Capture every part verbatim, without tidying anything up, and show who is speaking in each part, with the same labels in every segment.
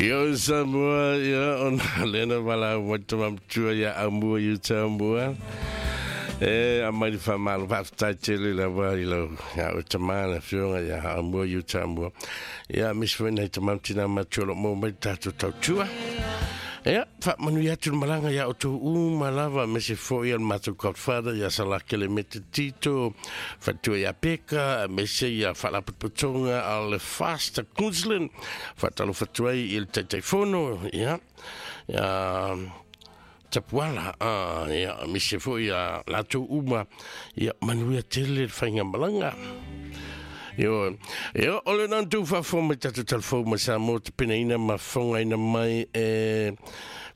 Speaker 1: Io Samoa, ia ona lena wala wata mamtua ia amua i Samoa. E a mai fa malo fa tai tele la wa i lo ia o tamana fionga ia amua i Samoa. Ia mis foi nei tamam tina matua lo mo mai tatu tautua. Ia, fa manu ia tu malanga ia o tu uma lava me se foi al matu godfather ia salakele me te tito fatua ia peka me se ia falaputonga al le fast Queensland fatalo fatua i el taifono ia ia tapuala ah ia me se foi ia la tu uma ia manu ia tele fainga malanga. Io, io ole nan tu fa fo me tatu telefo ma sa mo te pena ina ma fonga ina mai e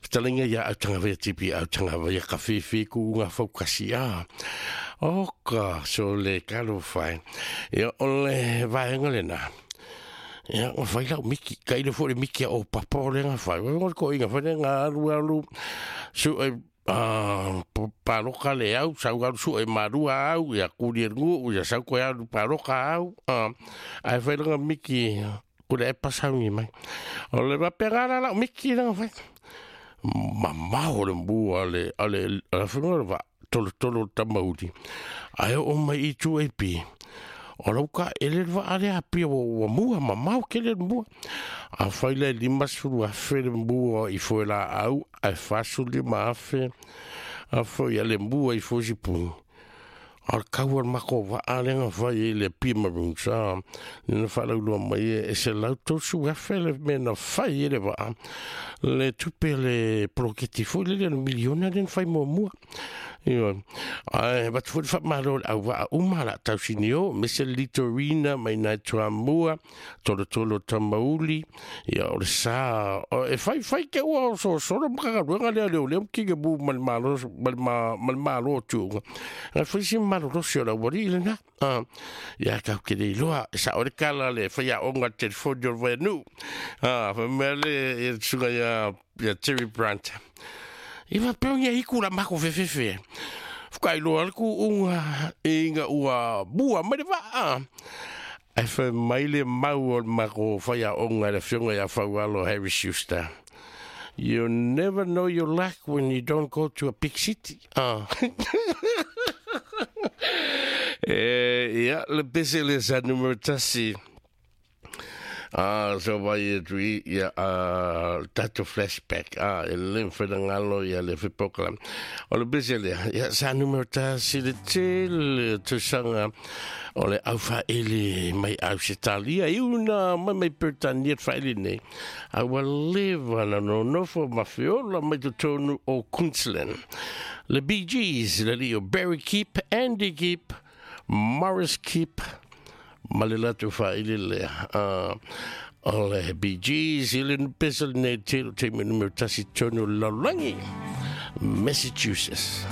Speaker 1: fitalinga ia au tanga vea tipi au tanga vea ka fifi ku unga fau kasi a. Oka, so le kalo fai. Io ole vaenga le na. Ia, o fai lau miki, ka ina fo le miki a o papa o le nga fai. O ko inga fai nga alu alu, su e ah paloka le au sau au su e marua au ia kuri ngu ia sau ko au paloka au ah ai fai nga miki ku le pasangi mai o le va pega la miki la fai mamao le mbua le ale la fai va tolo tolo tamauri ai o mai i tu e pi o lau ka ele va ale a pia o mua mamao ke le mua a fai le lima sulu a fe le mua i foi la au a fasu lima afe a foi ale mua i foi sipu al kau al mako va ale nga fai le pia marun sa nina whalau lua mai e se lau tosu a fe le mena fai ele va le tupe le poloketi foi le le miliona le fai mua mua. Io, ai, bat foi fa malo au va uma la tausinio, mese litorina mai nai tua mua, tolo tolo tamauli, ia o le sa, e fai fai ke ua so so maka ruanga le le le ki ke bu mal malo mal mal malo tu. Na fai si malo ro se la wari le na. Ah, ia ka ke le loa sa o le kala le fai a onga telefoni o venu. Ah, fa mele e suga ya ya Terry Brandt. Iwa peongia iku la mako fefefe. Fukai loa ku unga inga ua bua mai va. Ai fa mai le mau o mako fai a onga le fionga ia faualo Harry Schuster. You never know your luck when you don't go to a big city. Ah. Eh, ia le pese le sa numero tasi. Ah, so vai e tui, ia, ah, tato flashback, ah, e le mfenangalo, ia le fipokala. O le bese lea, ia, sa numero tasi le tele, tusanga, o le au faele mai au se talia, i una, mai mai pertania faele nei. A ua leva na no nofo mafiola mai totonu o Queensland. Le Bee Gees, le lio Barry Keep, Andy Keep, Morris Keep, ma le latou faili lea. Ah, o le Bee Gees, i le pesa lenei telo taimi numero tasi tonu lalolagi, Massachusetts.